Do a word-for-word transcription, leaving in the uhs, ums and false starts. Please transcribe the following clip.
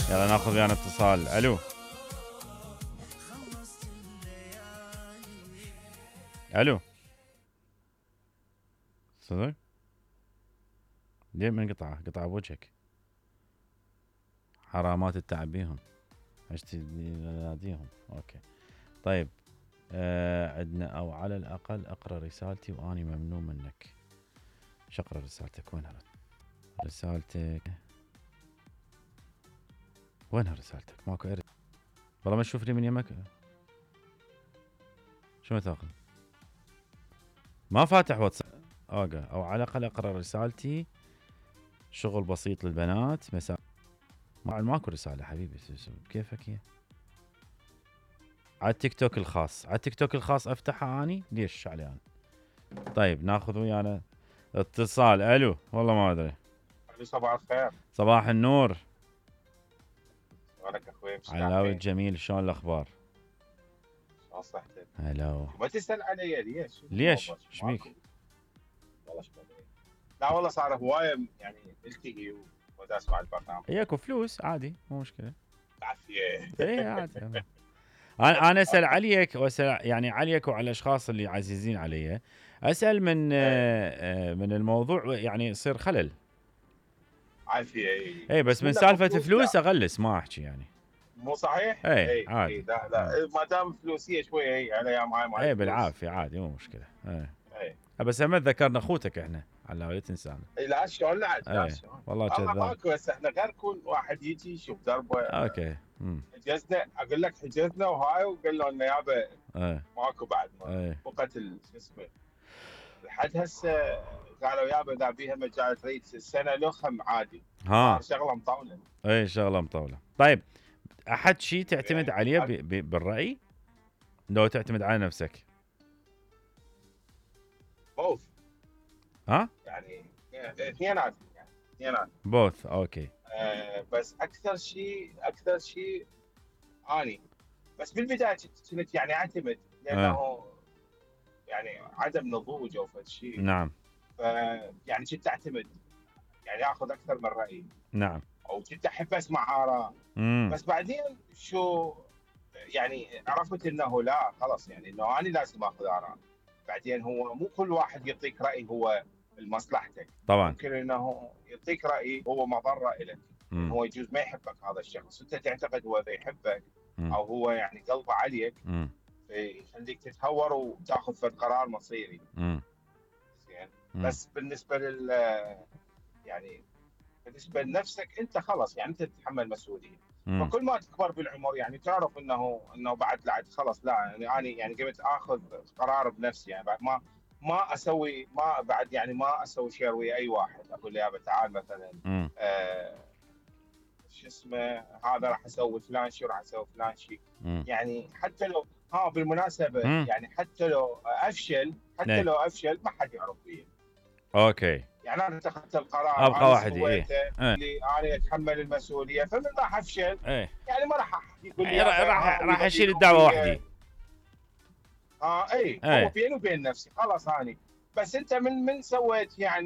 يلا ناخذ ويانا اتصال. الو الو صدق؟ ليه من قطعه؟ قطعه بوجهك. حرامات التعب بيهم. عشتي ناديهم. اوكي طيب. آه عندنا او على الاقل اقرا رسالتي واني ممنون منك. شقرا رسالتك؟ وينها رسالتك؟ وينها رسالتك؟ ماكو ارد والله ما تشوف لي من يمك. شو تاخذ؟ ما فاتح واتساب. اوكي او على الاقل اقرا رسالتي. شغل بسيط للبنات مساء. ما ماكو رساله حبيبي كيفك هي؟ على التيك توك الخاص. على التيك توك الخاص افتحها اني ليش علي انا؟ طيب ناخذ ويانا اتصال. الو والله ما ادري. صباح الخير. صباح النور. شلونك اخوي؟ علاوي الجميل شلون الاخبار؟ شلون صحتك؟ هلا. ما تسال علي ليش؟ ليش؟ ايش بيك؟ والله شو لا والله صار هوايه يعني التقي ودا اسمع البرنامج. اياكو فلوس عادي مو مشكله. عافيه. اي عادي. انا انا اسال عليك واسال يعني عليك وعلى الاشخاص اللي عزيزين علي. اسال من آه من الموضوع يعني يصير خلل. عافيه. اي بس من سالفه فلوس اغلس ما احكي يعني. مو صحيح؟ اي, أي عادي. اي لا لا ما دام فلوسيه شويه هي عليها معي معي. اي بالعافيه عادي مو مشكله. اي اي بس هم ذكرنا اخوتك احنا على لا تنسانا. اي لا شلون لا لا شلون والله كذاب. ماكو هسه احنا غير كل واحد يجي يشوف دربه. اوكي امم حجزنا اقول لك حجزنا وهاي وقال لنا يابا ايه ماكو بعد ما وقت شو اسمه لحد هسه قالوا يابا اذا بيها مجال تريد السنه لخم عادي. ها شغله مطوله. اي شغله مطوله. طيب احد شيء تعتمد عليه بالراي لو تعتمد على نفسك؟ بوث. ها يعني اثنينات يعني اثنينات بوث. اوكي آه بس اكثر شيء اكثر شيء اني بس بالبدايه كنت يعني اعتمد لانه آه. يعني عدم نضوج او فد شيء. نعم. ف يعني كنت اعتمد يعني اخذ اكثر من رايي. نعم. او كنت احب اسمع اراء. بس بعدين شو يعني عرفت انه لا خلاص يعني انه انا لازم اخذ اراء. بعدين هو مو كل واحد يعطيك راي هو لمصلحتك. طبعا ممكن انه يعطيك راي هو مضره لك. هو يجوز ما يحبك هذا الشخص انت تعتقد هو يحبك مم. او هو يعني قلبه عليك يخليك تتهور وتاخذ فد قرار مصيري. زين بس بالنسبه لل يعني بالنسبه لنفسك انت خلاص يعني انت تتحمل مسؤوليه. فكل ما تكبر بالعمر يعني تعرف انه انه بعد لا خلاص لا يعني انا يعني قمت اخذ قرار بنفسي يعني بعد ما ما اسوي ما بعد يعني ما اسوي شير ويا اي واحد اقول له يابا تعال مثلا آه شو اسمه هذا راح اسوي فلان شيء راح اسوي فلان شيء. يعني حتى لو ها بالمناسبه مم. يعني حتى لو افشل حتى ني. لو افشل ما حد يعرف فيه. اوكي يعني انا اتخذت القرار ابقى وحدي ايه اللي انا اتحمل المسؤوليه فمن راح افشل ايه. يعني ما راح يقول لي راح راح اشيل الدعوه وحدي. اه اي هو بيني وبين نفسي خلاص اني بس انت من من سويت يعني